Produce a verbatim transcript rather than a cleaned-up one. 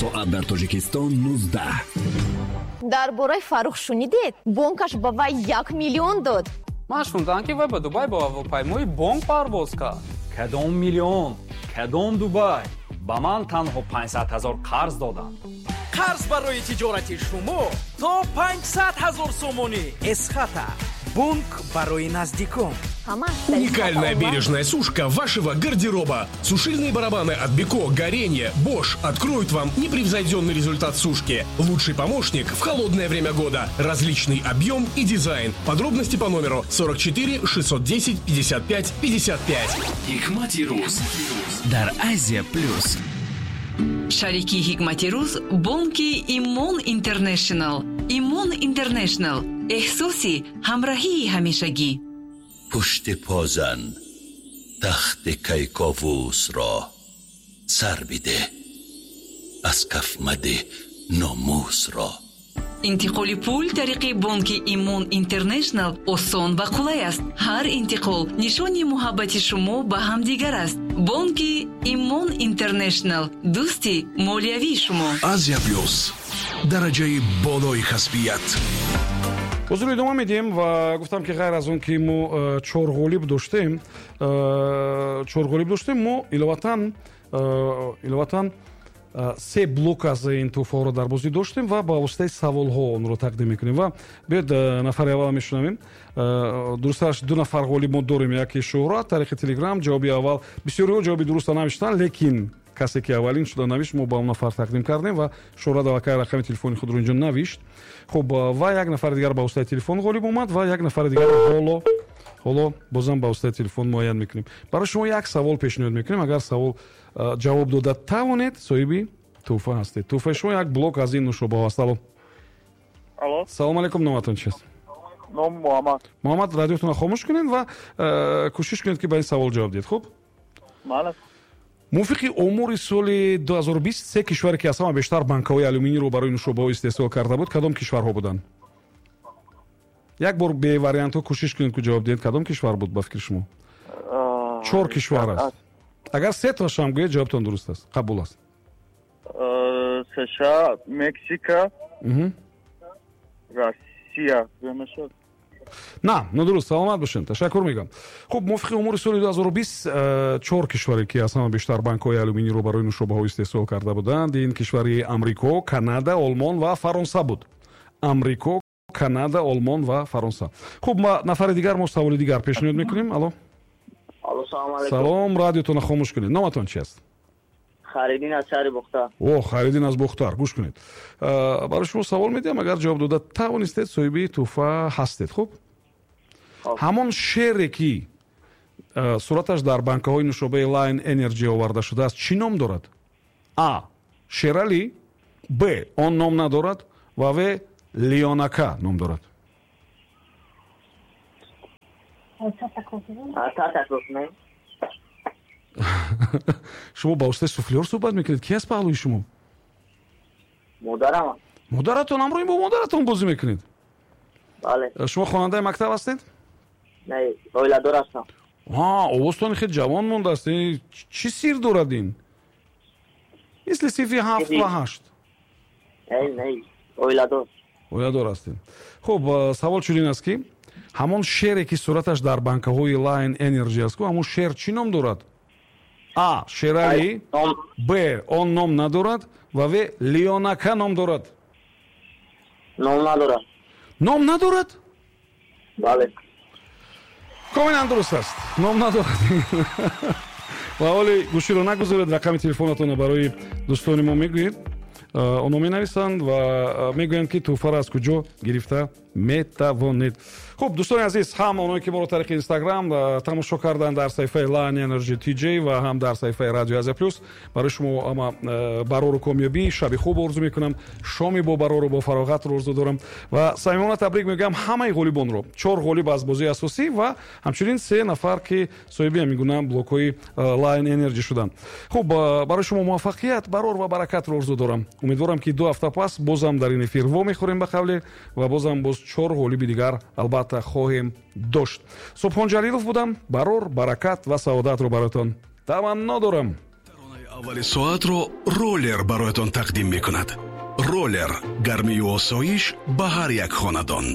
Соат дар Тоҷикистон нуздаҳ. Дар бораи Фаррух шунидед? Бонкаш ба вай як миллион дод. Ман шунидам, ки вай ба Дубай бо ҳавопаймои бонк парвоз кард. Кадом миллион, кадом Дубай? Ба ман танҳо панҷсад ҳазор қарз доданд. Қарз барои тиҷорати шумо то панҷсад ҳазор сомонӣ. Эсхата, бонк барои наздикон. Уникальная бережная сушка вашего гардероба. Сушильные барабаны от Beko, Gorenje, Bosch откроют вам непревзойденный результат сушки. Лучший помощник в холодное время года. Различный объем и дизайн. Подробности по номеру сорок четыре шестьсот десять пятьдесят пять пятьдесят пять. Ҳикмати рӯз дар Азия Плюс. Шарики Ҳикмати рӯз бонки Имон Интернешнл. Имон Интернешнл. Эҳсоси ҳамраҳии ҳамешагӣ. Пушти позан тахти Кайковусро сар бидеҳ, аз каф мадеҳ номусро. Интиқоли пул тариқи бонки Имон Интернешнл осон ва қулай аст. Ҳар интиқол нишони муҳаббати шумо ба ҳамдигар аст. Бонки Имон Интернешнл, дӯсти молиявии шумо. Азия Плюс, дараҷаи болои касбият. Ҳозир идома медиҳем ва гуфтам, ки ғайр аз он ки мо э, чор ғолиб доштем, э, чор ғолиб доштем, мо иловатан э, иловатан се блок аз ин тӯҳфаҳоро дар бозӣ доштем ва ба воситаи саволҳо онро тақдим мекунем. Ва биёед, нафари аввал мешунавем. Дурусташ, ду нафар ғолиб мо дорем. Яке Шӯҳрат тариқи Телеграм, ҷавоби аввал. Бисёриҳо ҷавоби дуруста навиштанд, лекин касе ки аввалин шуда навишт, мо ба он нафар тақдим кардем ва Шӯҳрат аллакай рақами телефони худро инҷо навишт. Хуб, ва як нафари дигар ба воситаи телефон ғолиб омад ва як нафари дигар ҳоло ҳоло бозам ба воситаи телефон муайян мекунем. Барои шумо як савол пешниҳод мекунем. Агар савол ҷавоб дода тавонед, соҳиби тӯҳфа ҳастед. Тӯҳфаи шумо як блок аз ин нӯшобаҳо аст. Алло. Алло. Салом алейкум, номатон чист? Ном Муҳаммад. Муҳаммад, радиотонро хомӯш кунед ва кӯшиш кунед, ки ба ин савол ҷавоб диҳед. Хуб? Бале. Мувофиқи омори соли ду ҳазору бист, се кишваре ки аз ҳама бештар банкаҳои алюминийро барои нӯшобаҳо истеҳсол карда буд, кадом кишварҳо буданд? Як бор бевариантҳо кӯшиш кунед, ки ҷавоб диҳед. Кадом кишвар буд ба фикри шумо? Чор кишвар аст. Агар се тошам гӯед, ҷавобтон дуруст аст, қабул аст. США, Мексика, Россия. На, нодуруст, саломат бошед, ташаккур мегӯям. Хуб, мувофиқи омори соли ду ҳазору бист, чор кишваре ки аз ҳама бештар банкҳои алюминийро барои нӯшобаҳо истеҳсол карда буданд, ин кишвари Амрико, Канада, Олмон ва Фаронса буд. Амрико, Канада, Олмон ва Фаронса. Хуб, ма нафари дигар мо саволи дигар пешниҳод мекунем. Алло. Алло, салом алейкум. Салом, радиотонро хомӯш кунед. Номатон чи аст? Харидин аз шаҳри Бухтар. О, Харидин аз Бухтар. Гӯш кунед. Барои шумо савол медиҳам, агар ҷавоб дода тавонистед, соҳиби тӯҳфа ҳастед. Хуб? Ҳамон шере ки сураташ дар банкаҳои нӯшобаи Lion Energy оварда шудааст, чӣ ном дорад? А. Шерали, Б. Он ном надорад ва В. Леонака ном дорад. Шумо ба воситаи суфлёр суҳбат мекунед? Ки аст паҳлӯи шумо? Модарам. Модаратон? Ҳамроҳи бо модаратон бозӣ мекунед? Бале. Шумо хонандаи мактаб ҳастед? Не, оиладор ҳастам. Ҳа, овозтон хеле ҷавон мондааст. Чӣ сир дорад ин? Мисли синфи ҳафт ва ҳашт. Не, не, оиладор. Оиладор ҳастед. Хуб, савол чунин аст, ки ҳамон шере ки сураташ дар банкаҳои Lion Energy аст, ҳамон шер чӣ ном дорад? А. Шерали, Б. Он ном надорад ва В. Леонака ном дорад. Ном надорад. Ном надорад? Бале. Комилан дуруст аст. Ном надорад. Ва ҳоли гӯширо нагузоред, рақами телефонатонро барои дӯстони мо мегӯед. Онҳо менависанд ва мегӯянд, ки тӯҳфаро аз куҷо гирифта метавонед. Хуб, дӯстони азиз, ҳам оное ки моро тариқи Инстаграм тамошо карданд дар саҳифаи Lion Energy ти ҷей ва ҳам дар саҳифаи Радио Азия Плюс, барои шумо ҳама барору комёбӣ, шаби хуб орзу мекунам, шоми бо барору бо фароғатро орзу дорам ва самимона табрик мегӯям ҳамаи ғолибонро. Чор ғолиб аз бозии асосӣ ва ҳамчунин се нафар ки соҳиби ҳамин гуна блокҳои Lion Energy шуданд. Хуб, барои шумо муваффақият, барор ва баракатро орзу дорам. Умедворам, ки ду ҳафта пас бозам дар ин эфир вомехӯрем ба қавле ва бозам боз чор ғолиби дигар албатта хоҳем дошт. Субҳон Ҷалилов будам. Барор, баракат ва саодатро бароятон таманно дорам. Таронаи Аввали соатро роллер бароятон тақдим мекунад. Роллер, гармию осоиш ба ҳар як хонадон.